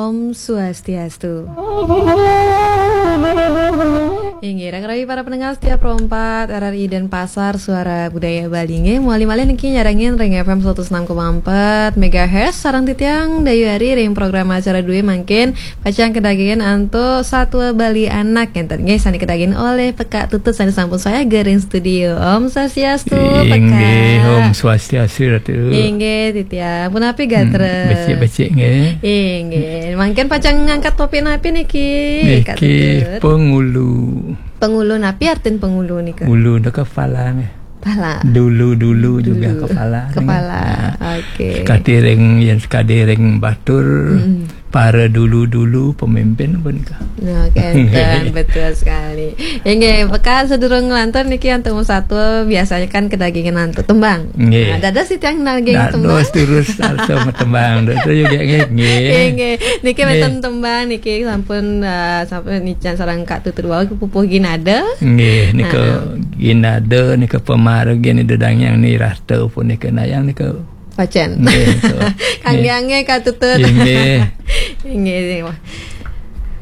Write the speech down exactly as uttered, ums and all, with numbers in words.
Om Swastiastu. Inggih, rakan rayi para pendengar setia Pro empat R R I Denpasar, Suara Budaya Bali. Inggih, malih-malih niki nyarengin ring F M seratus enam koma empat megahertz, sareng titiang Dayu Ari ring program acara dué mangkin pacang kadagingin antuk Satwa Bali Anak ngenten. Inggih, sané kadagingin olih Pekak Tutut sané sampun sayaga ring studio. Om Swastiastu, Inggih, Pekak. Om Swastiastu, Ratu. Inggih, titiang. Punapi gatra? Hmm, becik-becik, nggih. Inggih. Mangkin pacang ngangkat topik napi niki, Kak Niki Tutut? Pengulu. Pengulu, napi artin pengulu nika? Ulu nika kepala, nggih. Kepala. Dulu-dulu juga Dulu. Kepala, nggih. Kepala. Nah, oke. Sekadi ring, yén sekadi ring batur, Mm-mm. Para dulu-dulu pemimpin pun kah? Nah, kenten, betul sekali. Inggih, Pekak, sadurung nglantur niki antuk Om Satwa, biasanya kan kadagingin antuk tembang. Nggih. Nah, dados titiang naging tembang. Dados terus arsa matembang. Dados juga nggih, nggih. Inggih. Niki Nggih. Wénten tembang niki sampun, eh, sampun ican sareng Kak Tutut wau, pupuh Ginada. Nggih, nika Heeh. Ginada, nika pamargin Ida Dang Hyang Wirata pun nika nayang nika Pacén. Nggih, betul. Kangge Nggih. Angge Kak Tutut. Inggih. Inggih, inggih. Wah.